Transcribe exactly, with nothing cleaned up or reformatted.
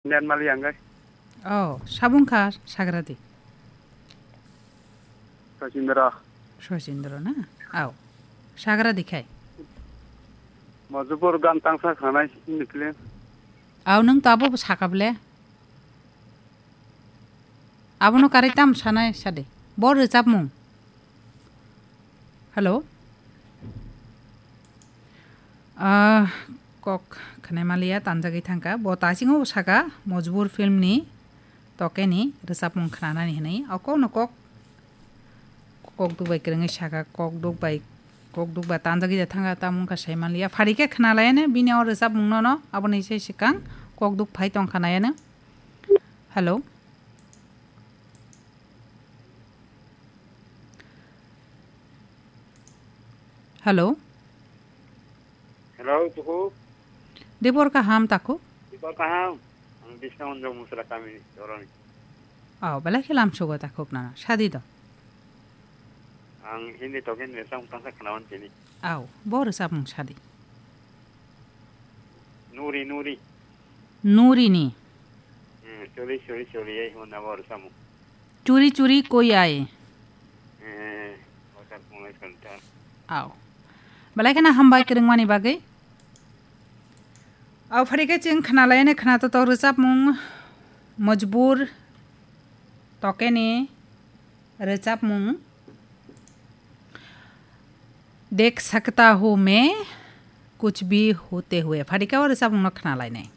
Net mali ang gai. Oh, sabung kha sagra di. Sachindra. Sachindra na? Au. Sagra di khai. Mojupur gan tangsa khanai ni film. Au, nung tabo sakable. Abono karai tam sanai sade. Bo rwchapmung. Hello? Ah, kok khwnai maliya tanjagwi thangkha. Bo tasingo saka Mojbur filmni tokeni rwchapmung khwnanani hwnwi. O kokno kok, kok duk bai kwrwngwi saka, kok duk bai, kok duk bai tanjagwi da thangkha, tamo wngkha sai maliya. Phari khe khwnalaiano bini o rwchapmungno no, aboni se swkang kok duk phai tongkha naiano. Hello? Hello? Hello, tuku. Debor kaham taku? Debor kaham. Ang Bisna Unjong Musra kami doroni. Oh, belai khe lam sugo takhuk nana. Sadi do. Ang Hindi token ni sang tangsa khnawan tini. Au, bo rwchapmung sadi. Nuri, Nuri. Nurini. Hmm, churi, churi, churi, ei hwnna bo rwchapmung. Churi, churi, koi ai. Eh, hotel pungai kanta. Au. Belai kheno hambai kwrwngmani bagwi. Au, phari khe chwng khna laiyani khna totok rwchapmung Mojbur tokeni rwchapmung Dekh Sakta Hu Main Kuch Bhi Hote Hue. Phari khe o rwchapmungno khna lainai.